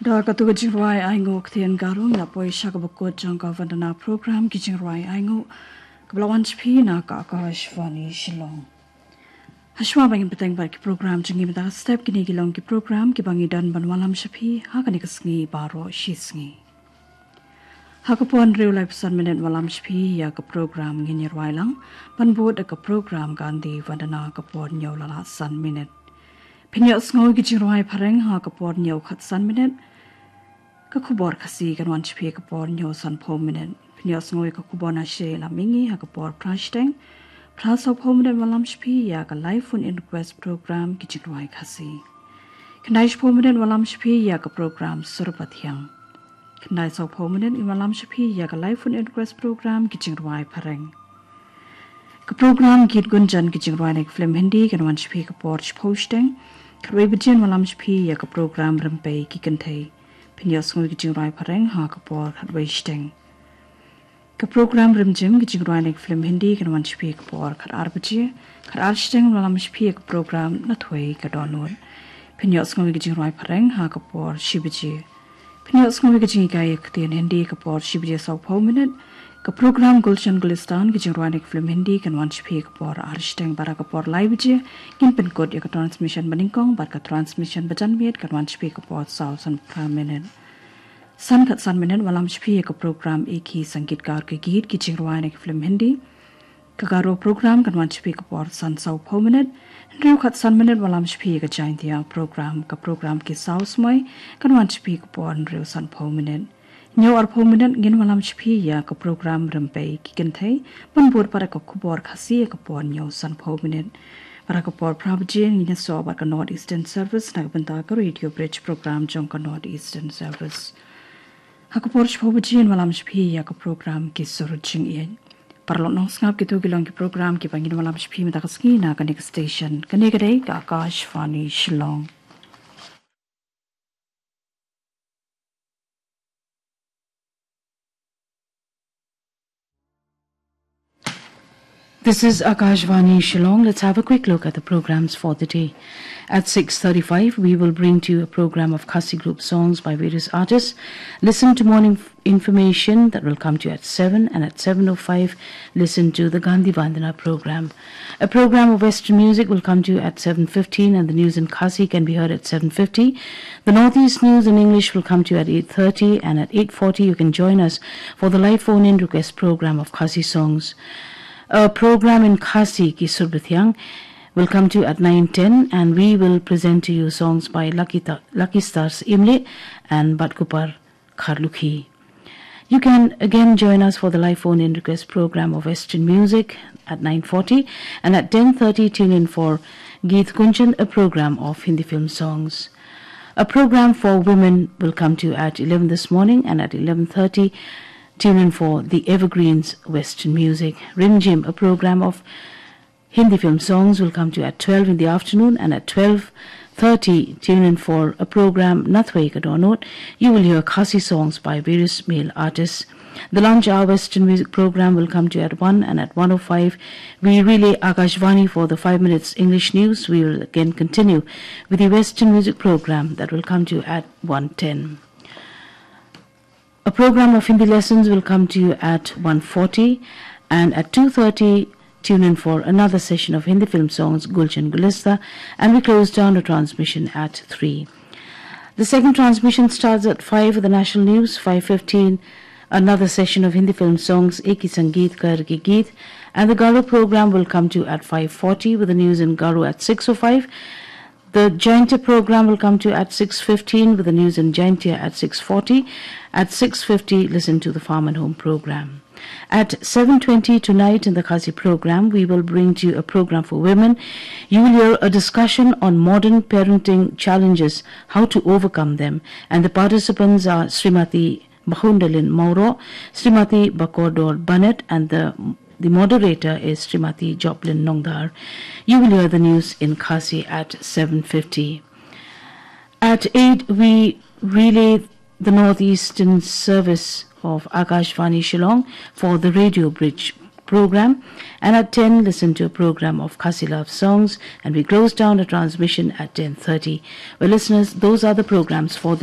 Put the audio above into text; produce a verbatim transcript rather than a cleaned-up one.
Da katu ka jingrwai ainguh ktien Garo ngi la poi sha kaba kut jong ka Vandana program, ki jingrwai ainguh kaba la wan sha phi na ka Akashvani Shillong. Hashwa ba ngin bteng bad ki program jong ngi mynta ka step, kine ki long ki program kiba ngi don ban wallam sha phi ha kane ka sngi baroh shi sngi. Ha ka por hynriew laiphew san minit wallam sha phi ïa ka program Ngin Ïa Rwai Lang, ban bud da ka program Gandhi Vandana ka por hynñiew la lah san minit. Phin ïohsngew ïa ki jingrwai phareng ha ka por hynñiew khatsan minit. Ka khubor Khasi kan wan sha phi ha ka por hynñiew sanphew minit. Phin ïohsngew ïa ka khubor Nashie la mihngi ha ka por phra shiteng. Phra sawphew minit wallam sha phi ïa ka live phone in request program Ki Jingrwai Khasi. Khyndai shiphew minit wallam sha phi ïa ka program Sur Pathiang. Khyndai sawphew minit ngin wallam sha phi ïa ka live phone in request program Ki Jingrwai Phareng. Ka program Geet Gunjan, ki jingrwai na ki film Hindi, kan wan sha phi ka por shiphew shiteng. Khatwei baje ngin wallam sha phi ïa ka program Rympei Ki Kynthei. Phin ïohsngew ïa ki jingrwai phareng ha ka por khatwei shiteng. Ka program Rimjim, ki jingrwai na ki film Hindi, kan wan sha phi ka por khatar baje. Khatar shiteng ngin wallam sha phi ïa ka program Nathwei Ka Dohnud. Phin ïohsngew ïa ki jingrwai phareng ha ka por shi baje. Phin ïohsngew ïa ka jinghikai ïa ka ktien Hindi ha ka por shi baje sawphew minit. Ka program Gulshan Gulistan, ki jingrwai na ki film Hindi, kan wan sha phi ha ka por ar shiteng, bad ha ka por lai baje ngin pynkut ïa ka transmission banyngkong, bad ka transmission bajanmiet kan wan sha phi ha ka por saw sanphew phra minit. San khatsan minit wallam sha phi ïa ka program Ek Hi Sangeetkar Ka Geet, ki jingrwai na ki film Hindi. Ka Garo program kan wan sha phi ka por san sawphew minit. Hynriew khatsan minit wallam sha phi ïa ka Jaintia program. Ka program Ki Saw Smai kan wan sha phi ka por hynriew sanphew minit. Hynñiew arphew minit ngin wallam sha phi ïa ka program Rympei Ki Kynthei, ban bud pat da ka khubor Khasi ha ka por hynñiew sanphew minit. Bad ha ka por phra baje ngin ïasoh bad ka North Eastern Service na ka bynta ka Radio Bridge program jong ka North Eastern Service. Ha ka por shiphew baje ngin wallam sha phi ïa ka program Ki Sur Jingïeit. Paralok nongsngap, kito ki long ki program kiba ngin wallam sha phi mynta ka sngi na kane ka station. Kane ka dei ka Akashvani Shillong. This is Akashvani Shillong. Let's have a quick look at the programs for the day. At six thirty-five, we will bring to you a program of Khasi group songs by various artists. Listen to morning f- information that will come to you at seven, and at seven oh five, listen to the Gandhi Vandana program. A program of Western music will come to you at seven fifteen, and the news in Khasi can be heard at seven fifty. The Northeast news in English will come to you at eight thirty, and at eight forty, you can join us for the live phone-in request program of Khasi songs. A program in Khasi, Ki Sur Bthiang, will come to you at nine ten, and we will present to you songs by Lucky, Ta- Lucky Stars Imli and Batkupar Kharlukhi. You can again join us for the live phone-in request program of Western music at nine forty, and at ten thirty, tune in for Geet Gunjan, a program of Hindi film songs. A program for women will come to you at eleven this morning, and at eleven thirty, tune in for the Evergreens Western music. Rimjim, a program of Hindi film songs, will come to you at twelve in the afternoon, and at twelve thirty, tune in for a program, Nathwei Ka Dohnud. You will hear Khasi songs by various male artists. The lunch hour Western music program will come to you at one, and at one oh five, we relay Akashvani for the five minutes English news. We will again continue with the Western music program that will come to you at one ten. A program of Hindi lessons will come to you at one forty, and at two thirty, tune in for another session of Hindi film songs, Gulshan Gulista, and we close down the transmission at three. The second transmission starts at five with the national news, five fifteen, another session of Hindi film songs, Ek Hi Sangeetkar Ka Geet, and the Garo program will come to you at five forty with the news in Garo at six oh five. The Jaintia program will come to you at six fifteen with the news in Jaintia at six forty. At six fifty, listen to the Farm and Home program. At seven twenty tonight in the Khasi program, we will bring to you a program for women. You will hear a discussion on modern parenting challenges, how to overcome them, and the participants are Srimati Bahundalin Mauro, Srimati Bakordor Bennett, and the, the moderator is Srimati Joplin Nongdar. You will hear the news in Khasi at seven fifty. At eight, we relay the Northeastern service of Akashvani Shillong for the Radio Bridge program. And at ten, listen to a program of Khasi love songs, and we close down the transmission at ten thirty. Well, listeners, those are the programs for the